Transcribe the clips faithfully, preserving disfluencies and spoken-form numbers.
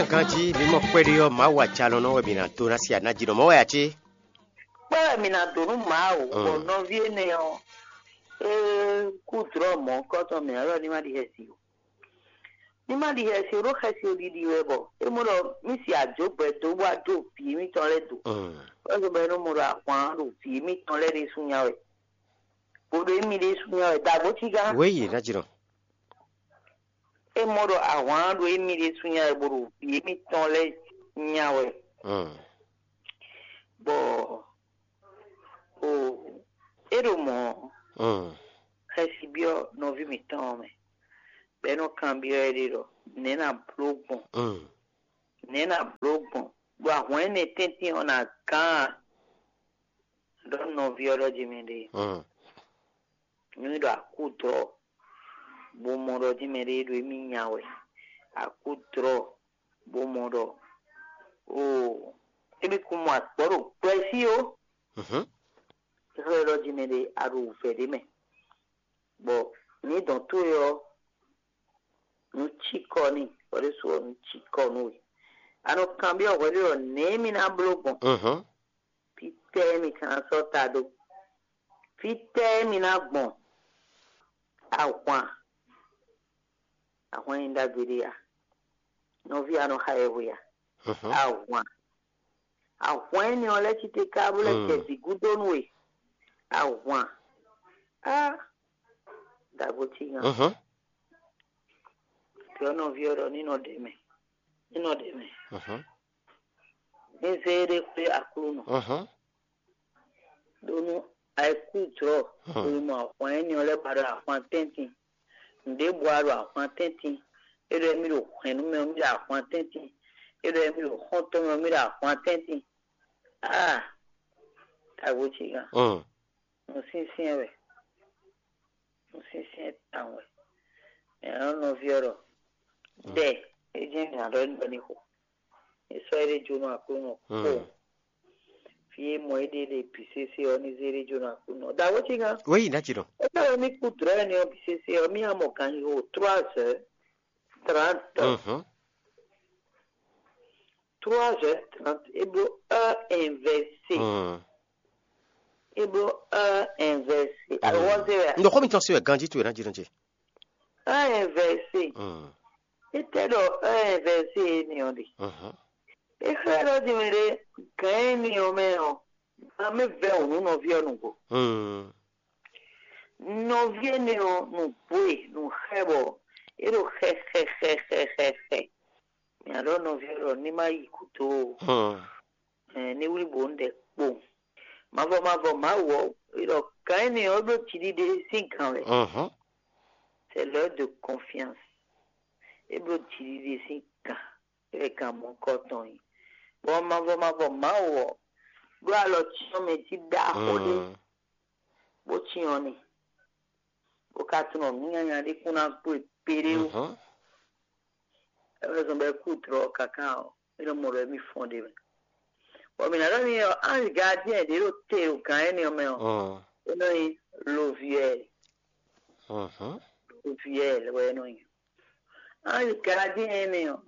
Ganjí mi mɔ kpɛɖé ɔ́, Mawu ajalɔnɔ wɛ mi ná dó ná sí aná jí nɔ mɔ̌ wɛ ǎ cé? Kpɔ́ wɛ mi ná dó nú Mawu, bɔ nɔví énɛ́ ɔ́, é kú dlɔ̌ mɔ̌hunkɔtɔn mɛ ɔ́, ní ma ɖi xɛsi o. Ní ma ɖi xɛsi o, ɖó xɛsi o ɖiɖi wɛ bɔ é mɔ ɖɔ mí si ajǒgbɛ́ dó wá dó vǐ émítɔn lɛ́ɛ do. Ɔ́ bɔ é nɔ mɔ ɖɔ ahwan ɖo vǐ émítɔn lɛ́ɛ ɖésú nya wɛ, bó ɖo émí ɖésú nya wɛ, dǎgbó cígán. Wěyi ná jlɔ. É mɔ ɖɔ ahwan ɖo émí ɖésú nya wɛ, bó ɖo vǐ émítɔn lɛ́ɛ nya wɛ. Bɔ o é ɖo mɔ̌ ɔ́, xɛsi byɔ́ nɔví mǐtɔn ɔ́ mɛ, bɔ é nɔ kanbyɔ́ ɛ ɖe ɖɔ: "Nɛ̌ ná bló gbɔn? Nɛ̌ ná bló gbɔn, bɔ ahwan énɛ́ tɛ́ntin ɔ́ ná gán a?" Ɖɔ nɔví ɔ́ ɖɔ jí mɛ ɖe, nú é ɖɔ akúdɔ̌, bó mɔ ɖɔ jí mɛ ɖe ɖo émí nya wɛ, akúdɔ̌, bó mɔ ɖɔ, oo, émí kún mɔ agbɔ̌ ɖo gbɛ́ fí ó. É xlɛ́ ɖɔ jí mɛ ɖe a ɖo wǔvɛ́ ɖé mɛ, bɔ ní dɔn towe ɔ́, nǔ cikɔ n'i, bɔ ɖésú ɔ́, nǔ cikɔ nú we. A nɔ kanbyɔ́ hwɛɖé ɖɔ: "Nɛ̌ mì ná bló gbɔn? Fítɛ́ mì ka ná sɔ́ ta dó? Fítɛ́ mì ná gbɔn?" Ahwan, ahwan nyí ɖagbe ɖé a? Nɔví, a nɔ xa yɛhwe a? Ahwan, ahwan énɛ́ ɔ́ lɛ́ cí te káká bó lɛ́ jɛ vǐ gúdo nú we. Ahwan, á, ɖagbo cí nya. Byɔ́ nɔví ɔ́ ɖɔ ní nɔ ɖe mɛ, ní nɔ ɖe mɛ. Ní zé éɖée xwé Aklúnɔ. Ɖó nú ayikújlɔ́, xweyǐmɔ ahwan énɛ́ ɔ́ lɛ́ ba ɖo ahwan tɛ́ntin. Nǔɖé bɔ a ɖo ahwan tɛ́ntin. É ɖɔ émí ɖo hwɛ̌n nú mɛ ɔ́, mí ɖo ahwan tɛ́ntin. É ɖɔ émí ɖo xɔ́ntɔn mɛ ɔ́, mí ɖo ahwan tɛ́ntin. Aa! Tagbó ce gán. Nǔsyɛ́nsyɛ́n wɛ. Nǔsyɛ́nsyɛ́n tawun wɛ. Mɛ ɔ́ nɔví ɔ́ ɖɔ: "Dɛ, é jɛ́n mǐ ná ɖɔ ní xo. È sɔ́ éɖée jó nú Aklúnɔ kpó." Fí e mɔ éɖée ɖe bǐ sésé ɔ́ ní zé éɖée jó nú Aklúnɔ. Dǎwe cí gán. Wěyi ná ci ɖɔ. É ká wɛ mí kú dlɔ̌ ɛnɛ ɔ́ bǐ sésé ɔ́, mí ná mɔ ganxixo trois heures trente. Trois heures trente, é bló heure inversée. É bló heure inversée. Alɔ wɔ zé wɛ. N ɖo xó mitɔn se wɛ ganjí towe ná jí nɔ ce. Heure inversée. Étɛ́ ɖɔ heure inversée énɛ́ ɔ́ ɖe? É xlɛ́ ɖɔ din mɛ ɖé gǎn énɛ́ ɔ́ mɛ ɔ́, gǎn mɛ vɛ́ wǔ nú nɔví ɔ́ nǔgbó. Nɔví énɛ́ ɔ́, nǔgbó e nǔ xɛ bɔ é ɖo xɛxɛxɛxɛxɛ. Mǐ ɖɔ nɔví ɔ́ ɖɔ ní má yi gǔdo ó. Ní wlí bǒ un ɖɛ kpowun. Mavɔ mavɔ Mawu ɔ́, é ɖɔ gǎn énɛ́ ɔ́ ɖó jiɖiɖe sín gǎn wɛ. C'est l'heure de confiance. É bló jiɖiɖe sín gǎn, é wɛ gǎn mɔ̌kɔ tɔn nyí. Bɔ mavɔ mavɔ Mawu ɔ́, ɖó alɔ cyɔ́n mɛ jí ɖaxó ɖé, bó cyɔ́n n'i, bó ka tunɔ nǔ nyanya ɖé kún ná kpó e kpéɖé ó. É wɛ zɔn bɔ é kú dlɔ̌ káká ɔ́, é nɔ mɔ ɖɔ émí fɔ́n ɖ'é mɛ. Bɔ mǐ ná ɖɔ n'i ɔ́, ange gardien ɖě ɖo te ɖo gǎn énɛ́ ɔ́ mɛ ɔ́, é nɔ nyí Loviɛ́l. Loviɛ́l wɛ é nɔ nyí. Ange gardien énɛ́ ɔ́,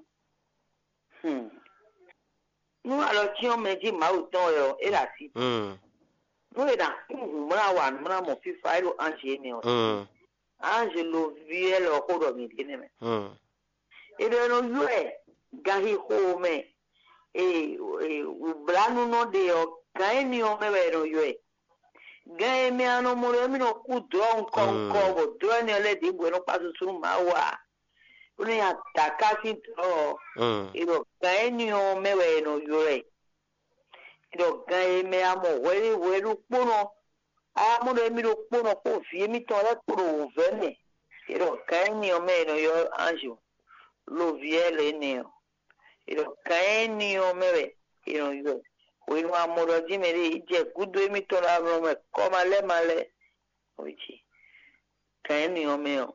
hmm. Nú alɔ cyɔ́n mɛ jí Mawu tɔn wɛ ɔ́, é ɖo así. Nú è nǎ kún hǔnmlá wa nǔmlá mɔ fífá é ɖo ange énɛ́ ɔ́. Ange Loviɛ́l ɔ́ xó ɖɔ mǐ ɖe nɛ́ mɛ. É ɖɔ é nɔ ylɔ́ ɛ ganxixo mɛ, e wǔblánu nɔ ɖe ɔ́, gǎn énɛ́ ɔ́ mɛ wɛ è nɔ ylɔ́ ɛ. Gǎn e mɛ a nɔ mɔ ɖɔ émí nɔ kú dlɔ́ ŋkɔ ŋkɔ, bɔ dlɔ́ énɛ́ ɔ́ lɛ́ɛ ɖěbǔ wɛ nɔ kpa susu nú Mawu ǎ. Bó nɔ nyi adǎká sín dlɔ̌ ɔ́, è ɖɔ gǎn énɛ́ ɔ́ mɛ wɛ è nɔ ylɔ́ ɛ. È ɖɔ gǎn e mɛ a mɔ hwɛɖé hwɛ ɖokpónɔ, a mɔ ɖɔ émí ɖokpónɔ kpó vǐ émítɔn lɛ́ɛ kpo ɖo wǔvɛ́ mɛ. È ɖɔ gǎn énɛ́ ɔ́ mɛ è nɔ ylɔ́ ange Loviɛ́l énɛ́ ɔ́. È ɖɔ gǎn énɛ́ ɔ́ mɛ wɛ è nɔ ylɔ́ ɛ. Hwenu a mɔ ɖɔ jí mɛɖé yi jɛ gúdo émítɔn ɖo amlɔ mɛ kɔ́ ma lɛ́ ma lɛ́, ɔ́ jí gǎn énɛ́ ɔ́ mɛ ɔ́,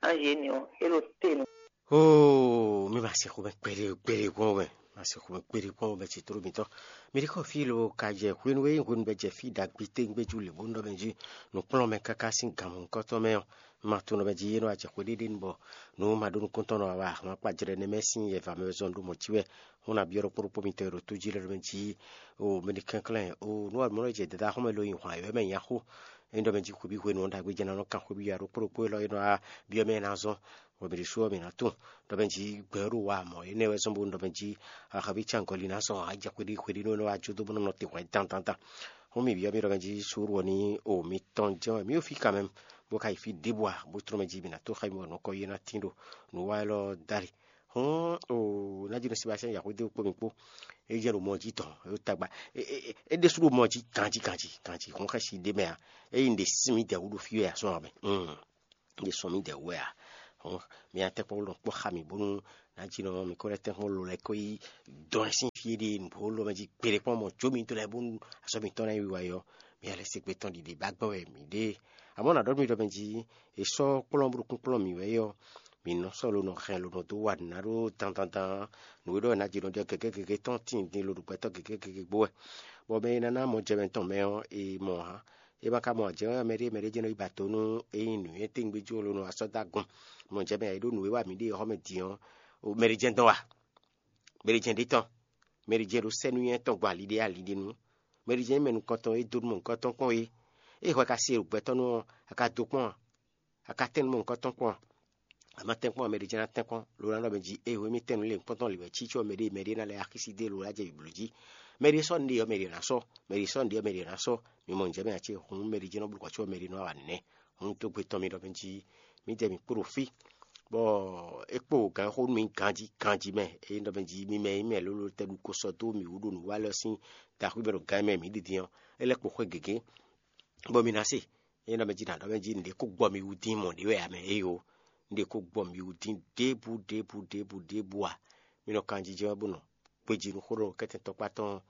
ange énɛ́ ɔ́, é ɖo te nú. Oo, mi ma se xomɛ kpɛɖé kpɛɖé gbɔn mɛ. Ma sixú mɛ kpéɖé kpɔ́n bɛ ci tló mitɔn. Mi ɖi xɔ fí lo ka jɛ hwenu e nyí hwenu bɛ jɛ fí ɖagbe tégbéjú lě bó nɔ mɛ jí nǔkplɔ́nmɛ káká sín gǎn mɔ̌hunkɔtɔn mɛ ɔ́, ma tunɔ mɛ jí é nɔ wá jɛ xwé ɖéɖé nu bɔ nǔ ma ɖó nukúntɔn nɔ wa ahwan kpa jlɛ́ nɛ́ mɛ sín yɛva mɛ zɔn ɖó mɔ̌ cí wɛ. Hún ná byɔ́ ɖokpó ɖokpó mitɔn e ɖo tó jí lɛ́ɛ ɖo mɛ jí o mɛ ɖi kɛnklɛ́n o nú ɔ́ mɔ̌ jɛ dada xɔ́mɛ lo nyi hwan yɔ̌ mɛ nya xó. É ɖɔ mɛ jí xwebí hwenu ɔ́ ɖagbe jɛ ná nɔ kan xwebí ya ɖokpó ɖokpó élɔ́ é nɔ wá byɔ́ mɛ ná zɔn. Hwebǐɖusú ɔ́ mǐ ná tunwun ɖɔ mɛ jí gbɛ ɔ́ ɖo wa mɔ̌ énɛ́ wɛ zɔ́n bónú ɖɔ mɛ jí axɔ́ví cangɔli ná zɔn ajɛ xwéɖí xwéɖí nú é nɔ wá jó dó bó nɔ nɔ te hwɛ̌ dandandan. Hún mì byɔ́ mì ɖɔ mɛ jí suúlu ɔ́ ní o mitɔn jɛ́n wɛ mǐ ɖo fí kanmɛ bó ka yi fí ɖěbǔ a bó tlɔ́n mɛ jí mǐ ná tó xá mì bɔ nǔ kɔ yi ná tín ɖo nǔ wa élɔ́ dali. Hún o ná jí nɔ Sebastiyɛn Yaxwédéwu kpó mì kpó é jɛ ɖo mɔ jí tɔn é ɖo tagba é ɖésú ɖo mɔ jí ganjí ganjí ganjí hún xɛsi ɖé mɛ a é yi ɖe sín mǐ dɛ̌ wú ɖo fí wɛ a sɔ́ ɔ́ mɛ. Ɖe sɔn mǐ dɛ̌ wú wɛ a? Hɔn mi ná tɛ́nkpɔ́n lɔn kpɔ́ xa mǐ bónú ná jí nɔ mi kó lɛ́ tɛ́nkpɔ́n lo lɛ́ kó yi dɔn ɛ sín fí e ɖe nǔgbó lɔ mɛ jí gbeɖé kpɔ́n mɔ jó mi dó lɛ́ bónú azɔ́ mǐtɔn ná yi wiwa yɔ. Mi ná lɛ́ se gbe tɔn ɖiɖe bá gbɛ́ wɛ mǐ ɖe. Amɔ̌ nǎ ɖɔ nú mi ɖɔ mɛ jí è sɔ́ kplɔ́n bó ɖo kúnkplɔ́n mǐ wɛ é ɔ́, mǐ nɔ sɔ́ lo nɔ hɛn lo nɔ dó wa nǔ ná ɖó dandandan. Nǔ e ɖɔ è nǎ jí nɔ ɖɔ gěgé gěgé tɔn tíin din lo ɖo gbɛtɔ́ gěgé gěgé gbo wɛ. Bɔ mɛ e ná ná mɔ jɛ mɛ tɔn mɛ ɔ́, è mɔ ǎ. É ma ka mɔ ǎ jɛ́n wɛ mɛɖé mɛɖé jɛ́n nɔ yi ba to nú é nyí nǔnywɛ́ tɛ́ngbéjú ɔ́ ló nɔ wá sɔ́ dó agun. Mɔ jɛ́n mɛ e ɖó nǔ e wa mǐ ɖe ɔ́ xɔ mɛ din ɔ́, mɛɖé jɛ́n dɔn wa, mɛɖé jɛ́n ɖe tɔn, mɛɖé jɛ́n ɖo sɛ́ nú nyɛ tɔn gbɔn ali ɖé ali ɖé nu, mɛɖé jɛ́n nyí mɛ nukɔntɔn e dó nú mɔ nukɔntɔn kpɔ́n é. Ée hwɛ ka se ɖo gbɛtɔ́ nú ɔ́, a ka dó kpɔ́n a? A ka tɛ́n nú mɔ nukɔntɔn kpɔ́n a? A ma tɛ́nkpɔ́n ɔ́, mɛɖé jɛ́n ná tɛ́nkpɔ́n, lo ná ɖɔ mɛ jí ée hwemɛ tɛ́nnu lě kpɔ́ntɔ́n lǐ wɛ cí có mɛɖé mɛɖé ná lɛ́ axi sí dó e lo ná jɛ blǒ jí. Mɛɖé sɔ́ nǔɖé ɔ́, mɛɖé ná sɔ́, mɛɖé sɔ́ nǔɖé ɔ́, mɛɖé ná sɔ́. Mi mɔ nǔjɛ mɛ ǎ ce hǔn mɛɖé jɛ́n nɔ bló kɔ́ có mɛɖé nɔ wa nɛ́. Hǔn dó gbe tɔn mi ɖɔ mɛ jí mǐ jɛ mǐ kpo ɖo fí, bɔ é kpo gǎn xó nú mǐ ganjí ganjí mɛ. É nyí ɖɔ mɛ jí mi mɛ nyí mɛ lólo tɛ ɖu ko sɔ́ dó mǐ wú ɖo nǔ wa lɛ́ɛ sín daxwí mɛ ɖo gǎn mɛ mǐ ɖi din ɔ́, é lɛ́ kpo xwé gěgé, bɔ mi ná se. É nɔ mɛ jí nǎ ɖɔ mɛ jí nǔɖé kó gbɔ mi wú dín mɔ̌ ɖé wɛ ǎ mɛ éyo. Nǔɖé kó gbɔ mi wú dín ɖěbǔ ɖěbǔ ɖěbǔ ɖěbǔ ǎ. Mi nɔ kanjijɛ wɛ bó nɔ gbejí nú xó ɖɔ kɛ́tɛn tɔkpá tɔn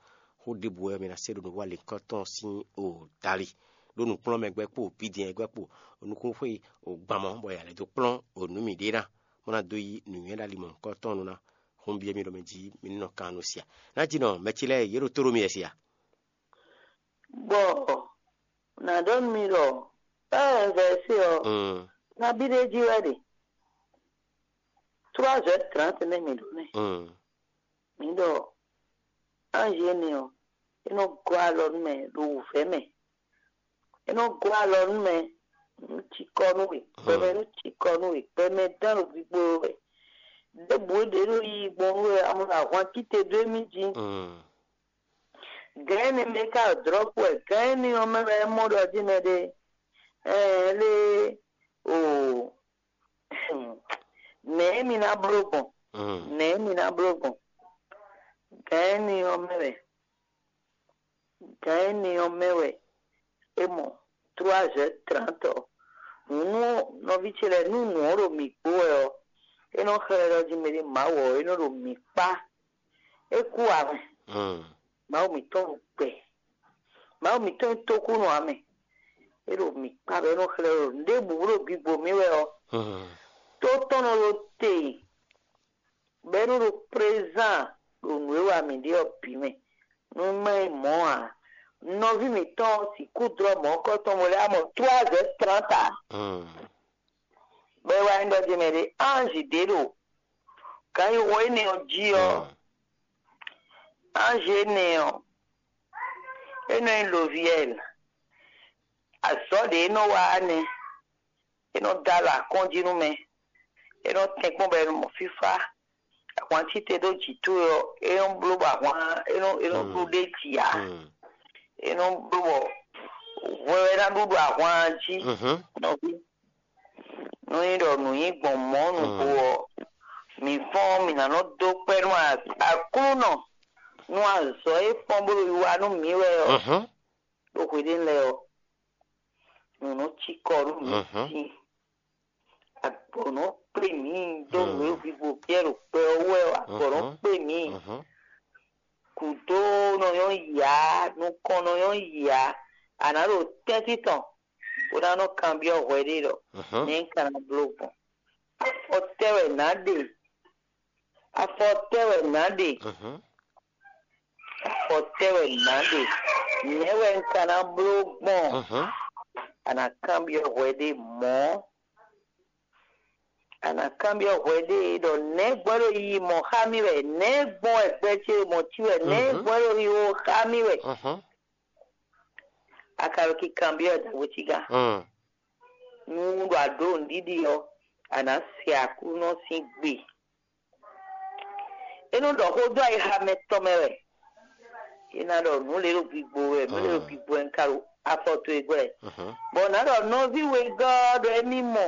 xó ɖěbǔ wɛ mi ná se ɖo nǔ wa lěkɔ́ tɔn sín o dali. Ɖó nǔkplɔ́nmɛ gbɛ́ kpo bídɛn gbɛ́ kpo nukúnxwé o gban mɔ̌ bɔ yǎ lɛ́ dó kplɔ́n o nǔ mǐɖée ná, bó ná dó yí nǔnywɛ́ ɖo ali mɔ̌hunkɔtɔn nu ná. Hún byɔ́ mi ɖɔ mɛ jí mi ní nɔ kan nú sia. Ná jí nɔ mɛ ce lɛ́ɛ yě ɖo tó ɖó mi wɛ sia. Bɔ nǎ ɖɔ nú mi ɖɔ ée vɛ̌si ɔ́, nabí ɖé jí wɛ ɖe. Trois heures trente nɛ́ mǐ ɖo nɛ́. Mǐ ɖɔ ange énɛ́ ɔ́, é nɔ gɔ́ alɔ nú mɛ ɖo wǔvɛ́ mɛ. É nɔ gɔ́ alɔ nú mɛ nú cikɔ nú we, gbɛmɛ nú cikɔ nú we, gbɛmɛ dán ɖo gbígbó wɛ. Ɖěbǔ e ɖě ɖo yiyi gbɔn nú we amɔ ɖo ahwan cíte dó émí jí. Gǎn énɛ́ mɛ ka ɖo drɔ̌ku wɛ, gǎn énɛ́ ɔ́ mɛ wɛ é mɔ ɖɔ jí mɛ ɖé. Ɛɛ lé o nɛ̌ mi ná bló gbɔn? Nɛ̌ mi ná bló gbɔn? Gǎn énɛ́ ɔ́ mɛ wɛ gǎn énɛ́ ɔ́ mɛ wɛ é mɔ trois heures trente ɔ́. Nǔnú nɔví ce lɛ́ɛ nú nǔ ɔ́ ɖo mǐ kpó wɛ ɔ́, é nɔ xlɛ́ ɖɔ jí mɛɖé Mawu ɔ́ é nɔ ɖo mǐ kpá. É kú ǎ mɛ. Mawu mǐtɔn ɖo gbɛ. Mawu mǐtɔn e tókúnɔ ǎ mɛ. É ɖo mǐ kpá bɔ é nɔ xlɛ́ ɖɔ nǔɖé bǔ ɖo gbigbo mì wɛ ɔ́, tó tɔn nɔ ɖo te bɔ é nɔ ɖo présent ɖo nǔ e wa mǐ ɖe ɔ́ bǐ mɛ. Nú má nyí mɔ̌ ǎ, nɔví mǐtɔn ɔ́ sixú dlɔ́ mɔ̌hunkɔtɔn bo lɛ́ wá mɔ trois heures trente ǎ. Bɔ é wá nyí ɖɔ jí mɛ ɖé ange ɖě ɖo gǎnyixɔ énɛ́ ɔ́ jí ɔ́, ange énɛ́ ɔ́, é nɔ nyí Loviɛl. Azɔ̌ ɖě é nɔ wa ɔ́ nɛ́. É nɔ dó alɔ akɔ́n jí nú mɛ. É nɔ tɛ́nkpɔ́n bɔ è nɔ mɔ fífá. Ahwan cí te dó jǐ towe ɔ́, é nɔ bló bɔ ahwan é nɔ é nɔ ɖu ɖ'é jí ǎ. É nɔ bló bɔ hwɛ wɛ ná ɖu ɖo ahwan jí. Nɔví, nú nyí ɖɔ nǔ nyí gbɔn mɔ̌ nǔgbó ɔ́, mǐ fɔ́n mǐ ná nɔ dó kpɛ́ nú Aklúnɔ nú azɔ̌ e fɔ́n bó ɖo wiwa nú mǐ wɛ ɔ́. Ɖo hweɖénu lɛ́ɛ ɔ́, nǔ nɔ cí kɔ nú mǐ dín. Agbɔ̌ nɔ kplé mǐ dó nǔ e hwivɔ́ Piyɛ́ɛ ɖo gbɛ ɔ́ wú wɛ ɔ́, agbɔ̌ nɔ kplé mǐ. Gǔdo nɔ nyɔ́ yǎ, nukɔn nɔ nyɔ́ yǎ, a nǎ ɖo tɛ́ntin tɔn bó ná nɔ kanbyɔ́ hwɛ ɖé ɖɔ nɛ̌ un ka ná bló gbɔn? Afɔ tɛ́ wɛ nǎ ɖe Afɔtɛ́ wɛ nǎ ɖe. Mhm. Afɔtɛ́ wɛ nǎ ɖe. Nɛ̌ wɛ un ka ná bló gbɔn? Mhm. A nǎ kanbyɔ́ hwɛ ɖé mɔ̌. A nǎ kanbyɔ́ hwɛ ɖé ɖɔ nɛ̌ gbɔn ɖo yiyi mɔ̌ xá mì wɛ, nɛ̌ gbɔn wɛ gbɛ ce mɔ̌ cí wɛ, nɛ̌ Mhm. gbɔn ɖo yi wo xá mì wɛ. Mhm. A ka ɖo kikanbyɔ́ ɛ dǎgbó cígán. Mm. Nú ɖo a ɖǒ nǔɖiɖi ɔ́, a nǎ se Aklúnɔ sín gbe. É nɔ ɖɔ xó dó ayixa mɛtɔn mɛ wɛ. É ná ɖɔ nǔ lě ɖo gbigbo wɛ, nǔ lě ɖo Mm. gbigbo wɛ un ka ɖo afɔ towe gbɔ wɛ. Mhm. Bɔ nǎ ɖɔ nɔví wegɔ́ ɔ́ ɖɔ émí mɔ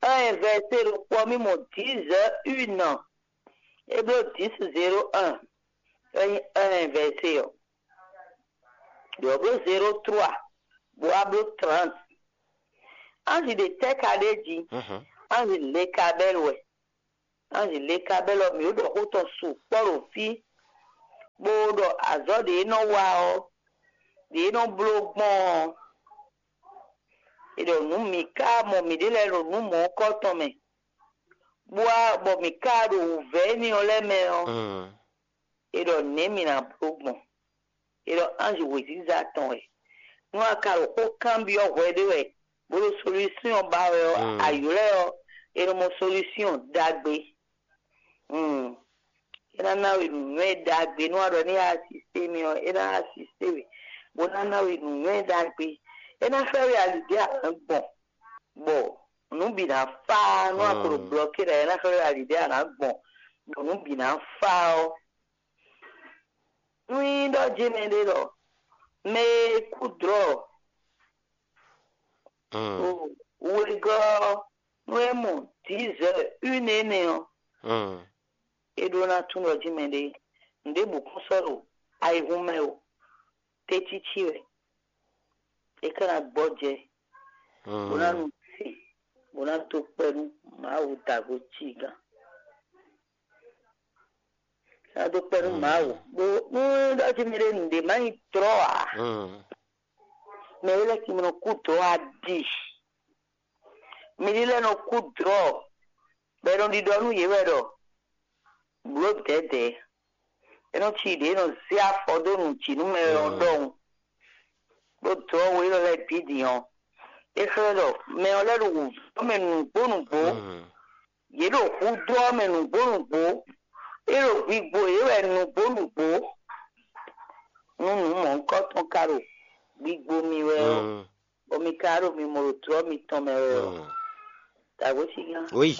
un vɛsé ɖokpó ɔ́, mì mɔ dix heures une. É bló dix zéro un, é nyí un vɛsé ɔ́. Ɖě ɔ́ bló zéro trois, bó wá bló trente. Anzi ɖě tɛ́ ka ɖ'é jí? Mhm. Anzi Lekabɛ́lu wɛ. Anzi Lekabɛ́lu ɔ́, mǐ ɖo ɖɔ xó tɔn sukpɔ́ ɖo fí, bó ɖɔ azɔ̌ ɖě e nɔ wa ɔ́, ɖě e nɔ bló gbɔn ɔ́, è ɖɔ nǔ mǐ ka mɔ mǐɖée lɛ́ɛ ɖo nǔ mɔ̌hunkɔtɔn mɛ, bó wá bɔ mǐ ka ɖo wǔvɛ́ énɛ́ ɔ́ lɛ́ɛ mɛ ɔ́, Mm. è ɖɔ nɛ̌ mǐ ná bló gbɔn? È ɖɔ anzi wěziza tɔn wɛ. Nú a ka ɖo xó kanbyɔ́ hwɛ ɖé wɛ, bó ɖo solúsyɔn ba wɛ ɔ́, Mm. a ylɔ́ ɛ ɔ́, è nɔ mɔ solúsyɔn ɖagbe. Mm. É ná ná we nǔnywɛ́ ɖagbe, nú a ɖɔ ní a asisté mì ɔ́, é ná asisté we, bó ná ná we nǔnywɛ́ ɖagbe. É ná xlɛ́ we ali ɖě a nǎ gbɔn, bɔ nǔ bǐ ná fá. Nú a ko ɖo Mm. blɔkí ɖa, é ná xlɛ́ we ali ɖě a nǎ gbɔn, bɔ nǔ bǐ ná fá ɔ́. Nú nyí ɖɔ jí mɛɖé ɖɔ mɛ e kú dlɔ̌ Mm. wegɔ́ ɔ́, nú é mɔ dix heures une énɛ́ ɔ́, Mm. é ɖó ná tunwun ɖɔ jí mɛɖé nǔɖé bǔ kún sɔ́ ɖo ayihún mɛ o. Tɛ́cící wɛ é ka ná gbɔjɛ, bó ná Mm. nu se, bó ná dó kpɛ́ nú Mawu dǎgbo cí gán. Ná dó kpɛ́ nú Mm. Mawu. Bó nú ɖɔ jí mɛɖé nǔɖé má nyí dlɔ̌ ǎ, Mm. mɛ e lɛ́ ki mɛ nɔ kú dlɔ̌ ǎ ɖi. Mɛ ɖé lɛ́ɛ nɔ kú dlɔ̌, bɔ è nɔ ɖiɖɔ nú yě wɛ ɖɔ blǒ dɛ̌dɛ̌. É nɔ cí ɖě e nɔ zé afɔ dó nǔ jí nú mɛ ɔ́ Mm. ɖɔhun. Ɖó dlɔ̌ we élɔ́ lɛ́ɛ bǐ din ɔ́, é xlɛ́ ɖɔ mɛ ɔ́ lɛ́ ɖo wǔvɛ́ mɛ nǔgbó nǔgbó. Mm. Yě ɖo hudó ɔ́ mɛ nǔgbó nǔgbó. É ɖo gbigbo yě wɛ nǔgbó nǔgbó. Nú nǔ mɔ̌hunkɔtɔn ka ɖo gbigbo mi wɛ ɔ́, Mm. bɔ mi ka ɖo mimɔ ɖo dlɔ̌ mitɔn mɛ wɛ ɔ́, Mm. dǎgbó cí gán, Oui.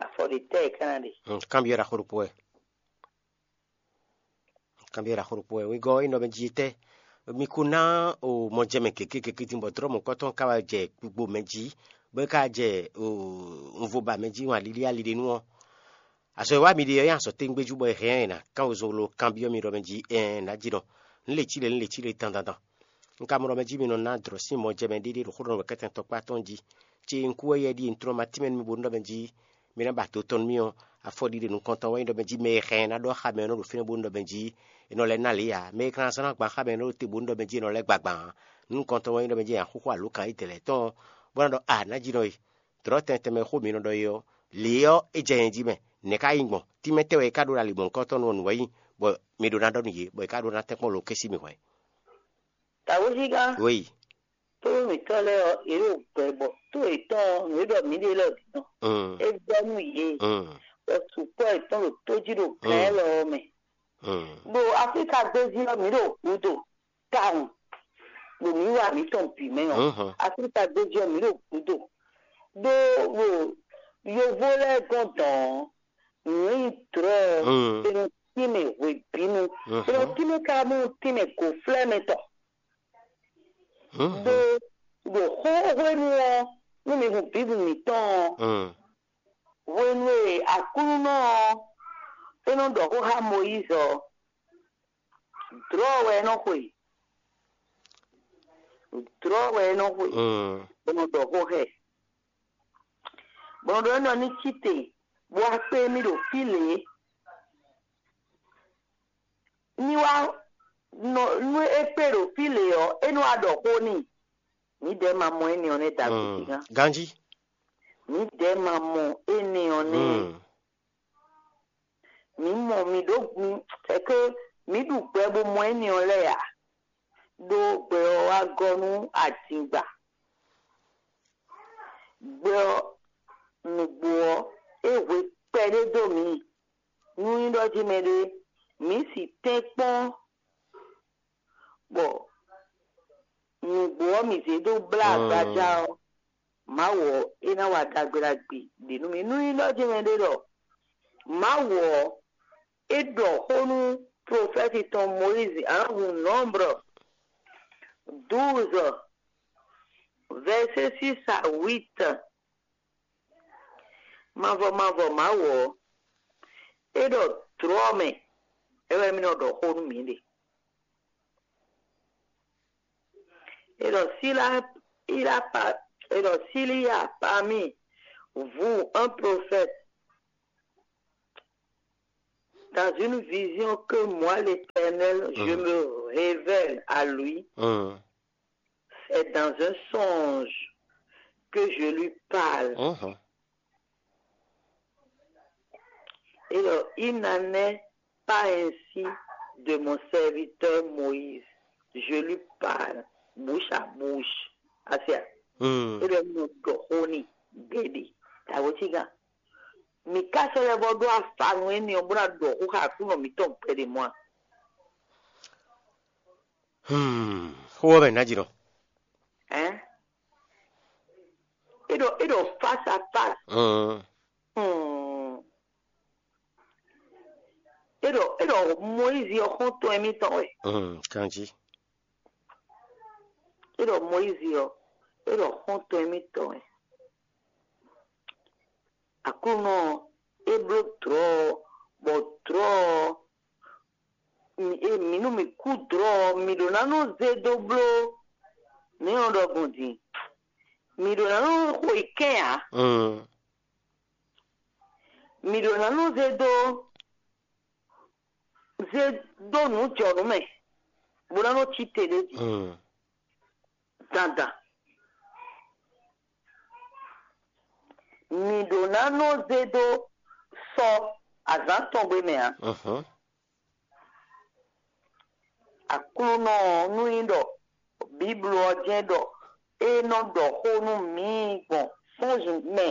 Afɔ ɖě tɛ́ è ka ná ɖe? Mm, kanbyɔ́ ɖaxó ɖokpó wɛ. Kanbyɔ́ ɖaxó ɖokpó wɛ. Wegɔ́ ɔ́, é nɔ mɛ jí tɛ́. Mi ko ná o mɔjɛmɛ gěgé gěgé din bɔ dlɔ̌ mɔ̌hunkɔtɔn ka wá jɛ gbigbo mɛ jí, bɔ é ka jɛ o unvoba mɛ jí, wan lili ali ɖé nu ɔ́. Azɔ̌ e wá mi ɖe ɔ́ nyí azɔ̌ tɛ́ngbéjú bɔ è hɛn ɛ ná kán wezolo kanbyɔ́ mi ɖɔ mɛ jí ɛɛn nǎ jí nɔ. Nǔ le cí le, nǔ le cí le dandandan. Un ka mɔ ɖɔ mɛ jí mi nɔ ná dlɔ̌ sín mɔjɛmɛ ɖéɖé ɖo xó ɖɔ nú wɛ̌kɛ́tɛn tɔkpá tɔn jí. Cé un kú wɛ yɛ ɖíe un tlɔ́n ma tínmɛ nú mi bónú ɖɔ mɛ jí mi ná ba do tɔn nú mì ɔ́, afɔ ɖiɖe nukɔntɔn wɛ nyí ɖɔ mɛ jí mɛ e hɛn ná ɖɔ xá mɛ ɔ́ nɔ ɖo fínɛ́ bónú ɖɔ mɛ jí è nɔ lɛ́ ná lě ǎ. Mɛ e ka ná zán ná gban xá mɛ ɔ́ nɔ ɖo te bónú ɖɔ mɛ jí è nɔ lɛ́ gba gban ǎ. Nukɔntɔn wɛ nyí ɖɔ mɛ jí è nǎ xúxú alǒkan édɛɛ lɛ́ɛ tɔn ɔ́, bó ná ɖɔ a nǎ jí nɔ e. Dlɔ̌ tɛn tɛnmɛ e xó mi nɔ ɖɔ é ɔ́, lě ɔ́, é jɛ nyɛ jí mɛ. Nɛ̌ ka nyí gbɔn? Tínmɛ tɛ́ wɛ è ka ɖó ɖo ali mɔ̌hunkɔtɔn nú ɔ́ nǔ wɛ nyí, bɔ mi ɖó ná ɖɔ nú yě, bɔ è ka ɖó ná tɛ́nkpɔ́n lo kɛ́ sí mi hwɛ̌. Tawézígán, Wéyi. Tónú mǐtɔn lɛ́ɛ ɔ́, yě ɖo gbɛ bɔ tó yětɔn ɔ́, nǔ e ɖɔ mǐ ɖe lɛ́ɛ ɔ́ ɖi nɔ. Mm. É vɛ́ nú yě, Mm. bɔ sukpɔ́ yětɔn ɖo tó jí ɖo gǎn Mm. élɔ́ ɔ́ mɛ. Mm. Ɖo Aflíka gbéjí ɔ́, mǐ ɖo gǔdo tawun, ɖo mǐ wa mǐtɔn bǐ mɛ ɔ́. Mhm. Aflíka gbéjí ɔ́, mǐ ɖo gǔdo. Ɖó ɖo yovó lɛ́ɛ gɔ́n dɔn ɔ́, nǔ e nyí drɔ̌ ɔ́, Mm. è nɔ tínmɛ hwebǐnu. Mhm. È nɔ tínmɛ ka mɔ tínmɛ gǒflɛ́mɛ tɔn. Mhm. Ɖó ɖo xó hwenu ɔ́, nú mi hun Bíblu mǐtɔn ɔ́, Mm. hwenu e Aklúnɔ ɔ́, é nɔ ɖɔ xó xá Mɔyízi ɔ́, dlɔ̌ wɛ é nɔ xwe. Dlɔ̌ wɛ é nɔ xwe, Mm. bó nɔ ɖɔ xó xá ɛ. Bó nɔ ɖɔ énɛ́ ɔ́ ní cí te, bó wá kpé émí ɖo fí lě. Ní wá nɔ nú é kpé ɖo fí lě ɔ́, é nɔ wá ɖɔ xó n'i. Mǐdɛɛ ma mɔ énɛ́ ɔ́ nɛ́ dǎgbézígán. Ganjí. Mǐdɛɛ ma mɔ énɛ́ ɔ́ nɛ́. Mm. Mǐ mɔ mǐ ɖó, c'est que mǐ ɖu gbɛ bó mɔ énɛ́ ɔ́ lɛ́ɛ ǎ, ɖó gbɛ ɔ́ wá gɔ́ nú adingba. Gbɛ ɔ́, nǔgbó ɔ́, é hwe kpɛɖé dó mǐ. Nú nyí ɖɔ jí mɛɖé, mǐ si tɛ́nkpɔ́n bɔ nǔgbó ɔ́ mǐ zé dó blá agbaja ɔ́, Mawu ɔ́, é ná wa ɖagbe ɖagbe ɖě nú mì. Nú nyí ɖɔ jí mɛɖé ɖɔ Mawu ɔ́, é ɖɔ xó nú profɛ́ti tɔn Mɔyízi, a nǎ hun Nɔ́mbrɔ douze, vɛ̌sé six à huit. Mavɔ mavɔ Mawu ɔ́, é ɖɔ dlɔ̌ mɛ, é wɛ mì nɔ ɖɔ xó nú mǐ ɖe. Et donc, s'il a, il a pas, et donc, s'il y a parmi vous un prophète, dans une vision que moi, l'Éternel, je me révèle à lui, c'est dans un songe que je lui parle. Et donc, il n'en est pas ainsi de mon serviteur Moïse. Je lui parle bouche à bouche. Asia. Mm. Ele mu ɖɔ xó ni gbede. Tawo tiga. Mi ka sɔ lɛ bɔ ɖo afa nu eni ɔ bó na ɖɔ xó xa kú nɔ mi tɔn gbede mɔ. Hmm. Xó ɔ́ mɛ ná jí nɔ. Hein? Eɖo eɖo face à face. Mm. Hmm. Eɖɔ eɖɔ Moyizi ɔ́ xɔ́ntɔn émítɔn wɛ. Mm, kanjí. Eɖɔ Moyizi ɔ́, eɖɔ xɔ́ntɔn émítɔn wɛ. Aklúnɔ ɔ́, é bló dlɔ̌ ɔ́, bɔ dlɔ̌ ɔ́, mi- e mǐ nú mǐ kú dlɔ̌ ɔ́, mǐ ɖó ná nɔ zé dó bló nɛ̌ ɔ́ ɖɔgbɔn din. Mǐ ɖó ná nɔ xo yi kɛ́n ǎ. Mm. Mǐ ɖó ná nɔ zé dó zé dó nǔ jɔnǔ mɛ, bó ná nɔ cí te ɖé jí. Mm. Dandan. Mǐ ɖó ná nɔ zé dó sɔ azǎn tɔn gbe mɛ ǎ. Mhm. Aklúnɔ ɔ́, nú nyí ɖɔ Bíblu ɔ́ jɛ́n ɖɔ é nɔ ɖɔ xó nú mǐ gbɔn sɔ́nzun mɛ.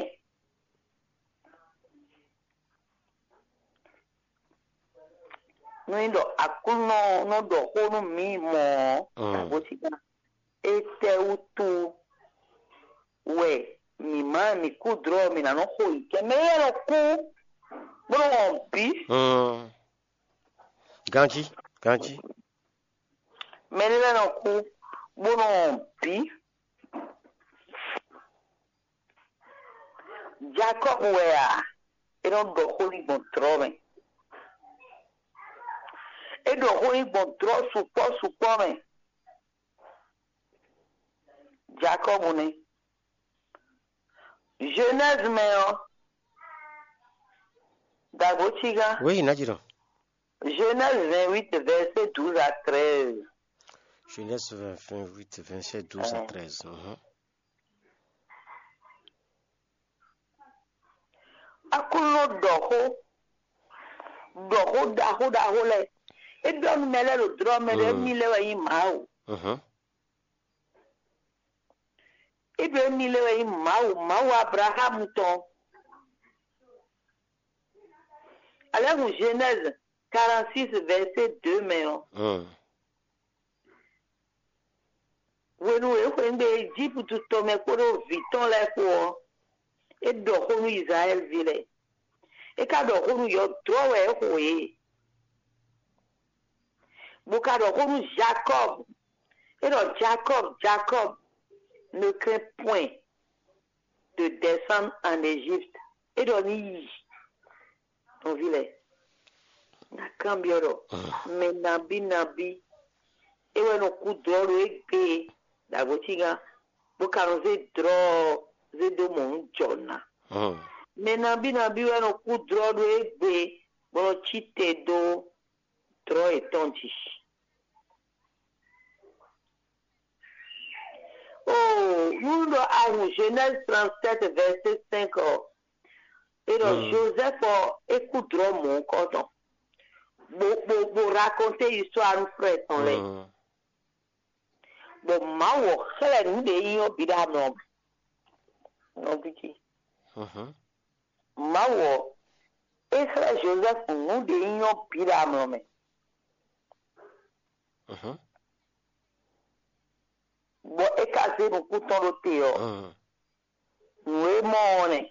Nú nyí ɖɔ Aklúnɔ ɔ́ nɔ ɖɔ xó nú mǐ mɔ̌ ɔ́, Mm. Agosigán, étɛ́wútu wɛ mǐ má mǐ kú dlɔ̌ mǐ ná nɔ xo yi kɛ? Mɛ lɛ́ɛ nɔ kú bó nɔ wɔn bǐ. Mm. Ganjí, ganjí. Mɛ lɛ́ɛ nɔ kú bó nɔ wɔn bǐ. Jakɔ́bu wɛ a? É nɔ ɖɔ xó n'i gbɔn dlɔ̌ mɛ. É ɖɔ xó n'i gbɔn dlɔ̌ sukpɔ́ sukpɔ́ mɛ. Jakɔ́bu nɛ́. Genèse mɛ ɔ́, dǎgbó cígá. Oui, ná jí ɖɔ. Genèse vingt-huit, verset douze à treize. Genèse vingt, vingt-huit, verset douze à treize. Mhm. Aklúnɔ ɖɔ xó, ɖɔ xó ɖaxó ɖaxó lɛ́ɛ. É ɖɔ nú mɛ lɛ́ɛ ɖo dlɔ́ mɛ ɖɔ émí lɛ́ɛ wɛ nyí Mawu. Mhm. É ɖɔ émí lɛ́ɛ wɛ nyí Mawu, Mawu Ablaxámu tɔn. Alɛ́ hun Genèse quarante-six, verset deux mɛ ɔ́. Mm. Hwenu e é xweyǐgbe Ejípútu tɔn mɛ kpódó vǐ tɔn lɛ́ɛ kpó ɔ́, é ɖɔ xó nú Izlayɛ́li ví lɛ́ɛ. É ka ɖɔ xó nú yɔdlɔ́ wɛ é xo yě. Bó ka ɖɔ xó nú Jakɔ́b. É ɖɔ Jakɔ́b, Jakɔ́b, ne crains point de descendre en Égypte. É ɖɔ ní yi. Nɔví lɛ́ɛ, na kanbyɔ́ ɖɔ mɛ nabí nabí é wɛ nɔ kú dlɔ́ ɖo égbé ɖo agɔ̌cígán, bó ka nɔ zé dlɔ́ ɔ́ zé dó mɔ nǔ jɔ ná. Mɛ nabí nabí wɛ nɔ kú dlɔ́ ɖo égbé bó nɔ cí te dó dlɔ́ yětɔn jí. Oh, nú ɖɔ a hun Genèse trente-sept, verset cinq ɔ́, é ɖɔ Joseph ɔ́, é kú dlɔ́ mɔ̌hunkɔtɔn. bó bó bó raconter histoire nú frère tɔn lɛ́ɛ. Bɔ Mawu ɔ́ xlɛ́ nǔ ɖě nyí ɔ́ bǐ ɖo amlɔ mɛ. Nɔví ce, Mawu ɔ́, é xlɛ́ Jozɛ́fu nǔ ɖě nyí ɔ́ bǐ ɖo amlɔ mɛ. Bɔ é ka zé nukún tɔn ɖó te ɔ́, nǔ e mɔ ɔ́ nɛ́.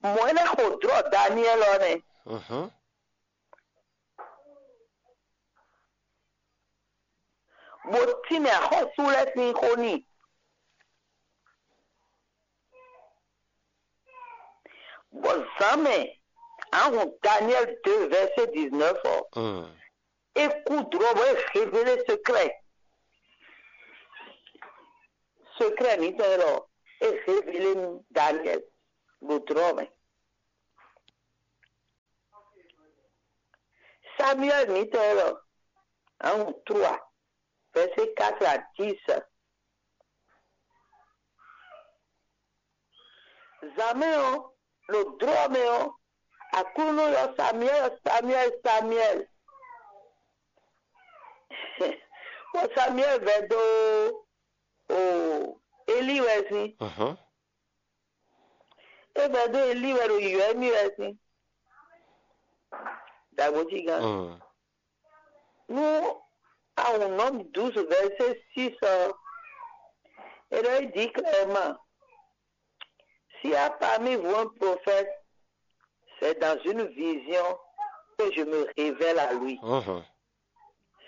Mɔ̌ é lɛ́ xo dlɔ̌ Daniɛ́li ɔ́ nɛ́. Bó tínmɛ axɔ́sú lɛ́ɛ sín xó n'i. Bɔ zǎnmɛ ahun Daniɛ́li deux verset dix-neuf ɔ́, é kú dlɔ̌ bɔ é révélé secret. Secret mǐtɔn élɔ́, é révélé nú Daniɛ́li ɖo dlɔ̌ mɛ. Samuɛ́li mǐtɔn élɔ́, ahun trois verset quatre à dix. Zǎnmɛ ɔ́, ɖo dlɔ̌ mɛ ɔ́, Aklúnɔ ylɔ́ Samuɛ́li, Samuɛ́li, Samuɛ́li. Bɔ Samuɛ́li vɛdó o Elíi wɛ sín. É vɛdó Elíi wɛ ɖo yǐyɔ́ émí wɛ sín. Dǎgbó cí gán. Nú ahun Nɔ̌mu douze verset six ɔ́, é ɖɔ é dit clairement: S'il y a parmi vous un prophète, c'est dans une vision que je me révèle à lui.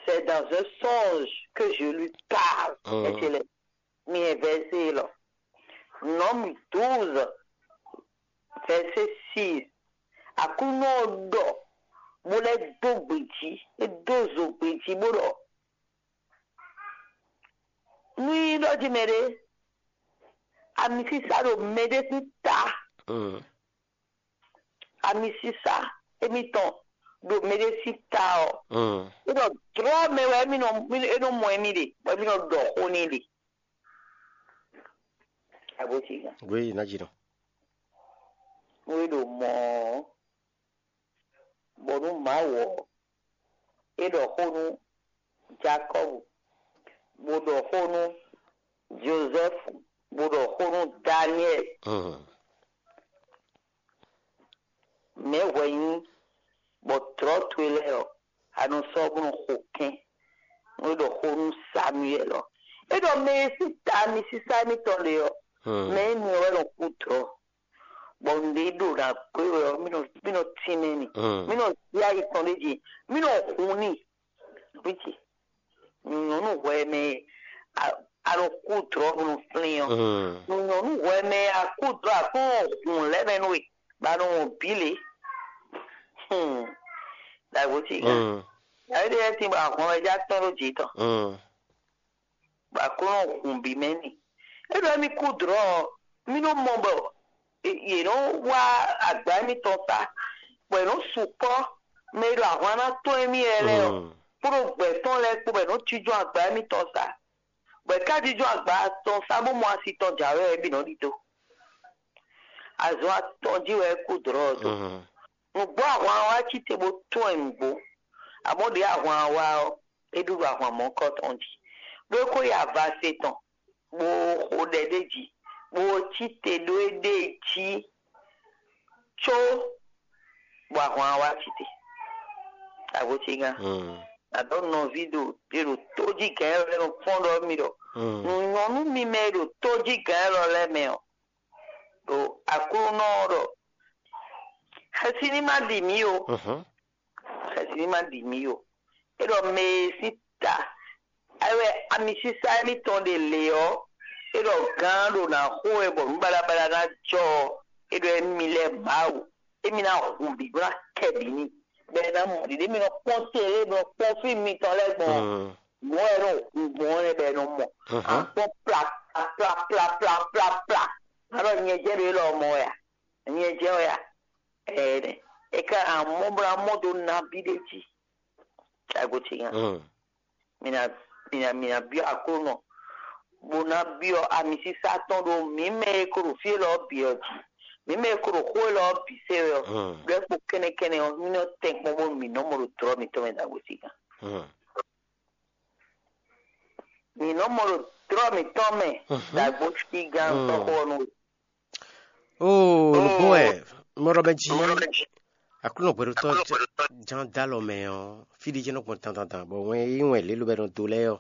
C'est dans un songe que je lui parle. Ecele mi e verset élɔ́. Nɔ̌mu douze verset six. Aklúnɔ ɔ́ ɖɔ bó lɛ́ dó gbe jí, é dó zo gbe jí bó ɖɔ: Nú nyí ɖɔ jí mɛɖé, amisísá ɖo mɛɖé sín ta, amisísá émítɔn ɖo mɛɖé sín ta ɔ́, é ɖɔ dlɔ́ mɛ wɛ émí nɔ é nɔ mɔ émí ɖe, bɔ émí nɔ ɖɔ xó n'i ɖe. Abǒsígán. Oui, ná jí nɔ. Nú é ɖo mɔ ɔ́, bɔ nú Mawu ɔ́, é ɖɔ xó nú Jakɔ́bu, bó ɖɔ xó nú Jozɛ́fu, bó ɖɔ xó nú Daniɛ́li. Mɛ̌ hwɛ nyí bɔ dlɔ̌ towe lɛ́ɛ ɔ́, a nɔ sɔ́ bó nɔ xo kɛ́n? Nú é ɖɔ xó nú Samuɛ́li ɔ́, é ɖɔ mɛ e sín ta amisísá émítɔn ɖe ɔ́, mɛ énɛ́ wɛ nɔ kú dlɔ̌. Bɔ nǔɖé ɖo ná gbé wɛ ɔ́, mí nɔ mí nɔ tínmɛ n'i, mí nɔ zí ayi tɔn ɖ'é jí, mí nɔ hun n'i. Vǐ ce, nyɔ̌nu hwɛ mɛ a a nɔ kú dlɔ̌ bó nɔ flín ɔ́, nyɔ̌nu hwɛ mɛ a kú dlɔ̌ a kún nɔ hun lɛ́ mɛ nú we, bɔ a nɔ wɔn bǐ lě. Dǎgbó ce gán. Dǎgbó ce gán tín bɔ ahwan wɛ já tɔ́n ɖó jǐ tɔn. Bɔ Aklúnɔ hun bǐ mɛ n'i. É ɖɔ émí kú dlɔ̌ ɔ́, mí nɔ mɔ bɔ yě nɔ wá agba émítɔn sá, bɔ yě nɔ sukpɔ́ mɛ e ɖo ahwan ná tɔ́n émí lɛ́ɛ lɛ́ɛ ɔ́, kpódó gbɛ̌ tɔn lɛ́ɛ kpó, bɔ yě nɔ jínjɔ́n agba émítɔn sá. Bɔ yě ká jínjɔ́n agba tɔn sá bó mɔ asi tɔn jǎwe ɔ́, é bǐ nɔ ɖidó. Azɔn atɔn jí wɛ é kú dlɔ̌ ɔ́ dó. Nǔgbó ahwan ɔ́ wá cí te bó tɔ́n ɛ nǔgbó. Amɔ̌ ɖě ahwan ɔ́ wá ɔ́, é ɖú ɖo ahwan mɔ̌kɔ tɔn jí, bó é kó yi avase tɔn, bó xo ɖɛ ɖ'é jí, bó cí te ɖó éɖée jí, có bɔ ahwan ɔ́ wá cí te. Agbo ce gán. Nǎ ɖɔ nɔví ɖo è ɖo tójígǎn e lɛ́ nɔ kpɔ́n ɖɔ mì ɖɔ nǔ nyɔ́ nú mi mɛ e ɖo tójígǎn élɔ́ lɛ́ɛ mɛ ɔ́, ɖo Aklúnɔ ɔ́ ɖɔ xɛsi ní ma ɖi mǐ ó. Xɛsi ní ma ɖi mǐ ó. É ɖɔ mɛ e sín ta é wɛ amisísá émítɔn ɖe lě ɔ́, é ɖɔ gǎn ɖo nǎ xo wɛ bɔ nǔ baɖabaɖa ná jɔ ɔ́, é ɖɔ émí lɛ́ɛ Mawu, émí ná hun bǐ bó ná kɛ bǐ n'i, bɔ é ná mɔ ɖiɖe. Émí nɔ kpɔ́n télé, émí nɔ kpɔ́n fí mitɔn lɛ́ɛ gbɔn mɔ̌ wɛ nɔ hun gbɔn ɔ́ nɛ́ bɔ è nɔ mɔ. A kpɔ́n pla pla pla pla pla pla. A ɖɔ nyɛ jɛ ɖo élɔ́ mɔ wɛ a? Nyɛ jɛ wɛ a? Ɛɛ, é ká amɔ́ bó ná mɔ dó nabí ɖé jí. Ago ce nya. Mina mina mina byɔ́ Aklúnɔ, bó ná byɔ́ amisísá tɔn ɖo mǐ mɛ e ko ɖo fí élɔ́ bǐ ɔ́ jí. Mǐ mɛ e ko ɖo xó élɔ́ ɔ́ bǐ se wɛ ɔ́, ɖó kpo kɛ́nɛkɛ́nɛ ɔ́, mì nɔ tɛn kpɔ́n bónú mǐ nɔ mɔ ɖo tlɔ̌ mǐtɔn mɛ ɖagbe sígán. Mǐ nɔ mɔ ɖo tlɔ̌ mǐtɔn mɛ ɖagbo sígán sɔ́xo ɔ́ nú we. Oo, nǔgbó wɛ mɔɖɔ mɛ jí Aklúnɔ hwɛɖótɔ́ ján dó alɔ mɛ ɔ́, fí ɖé jɛ́n nɔ gbɔn dandandan, bɔ wɛn e nyí wɛn lě lobɛ́ nɔ dó lɛ́ɛ ɔ́,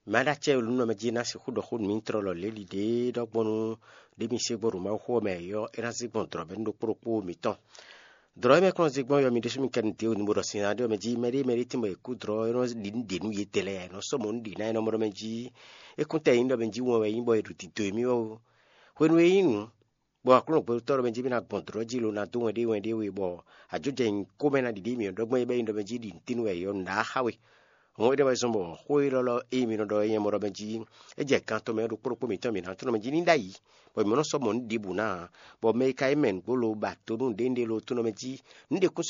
mɛ aɖácɛ́ e lǔnɔ mɛ jí ná sixú ɖɔ xó nú mǐtɔn lɔ lě ɖiɖe ɖɔgbɔn nú ɖě mi se gbo ɖo Mawu xó ɔ́ mɛ ɔ́, é ná zé gbɔn dlɔ̌ mɛ nú ɖokpó ɖokpó mǐtɔn. Dlɔ̌ e mɛ kplɔ́n zé gbɔn ɔ́, mi ɖésú mi kɛ nu dě o, mi bo ɖɔ sin ná ɖé ɔ́ mɛ jí mɛɖé mɛɖé tín bɔ è kú dlɔ̌ é nɔ ɖi nǔ ɖě nú yětɛn lɛ́ɛ, è nɔ sɔ́ mɔ̌ nú ɖě ná é nɔ mɔ ɖɔ mɛ jí é kún tɛ nyí ɖɔ mɛ jí wɛn wɛ é nyí bɔ è ɖo dǐdó émí wɛ ó. Hwenu e é nyí nǔ, bɔ Aklúnɔ gbɛtɔ́ ɖɔ mɛ jí mì ná gbɔn dlɔ̌ jí lo ná dó wɛn ɖé wɛn ɖé we, bɔ ajó jɛ nyǐkó mɛ ná ɖiɖe mì ɔ́ ɖɔgbɔn é bɛ́ nyí ɖɔ mɛ jí ɖi nǔtínú wɛ è ylɔ́ nǔɖaxá we. Hɔn énɛ́ wɛ zɔ́n bɔ xó élɔ́ lɔ e mi nɔ ɖɔ é nyɛ mɔ ɖɔ mɛ jí é jɛ kan tɔn mɛ ɖokpó ɖokpó mǐtɔn mǐ ná tlɔ́n mɛ jí ní ɖ'ayǐ, bɔ mǐ mɔ nɔ sɔ́ mɔ nǔ ɖěbǔ ná ǎ, bɔ mɛ e ka nyí mɛ nǔgbó lo ba to nú nǔɖé nǔɖé lo tónɔ mɛ jí nǔɖé kún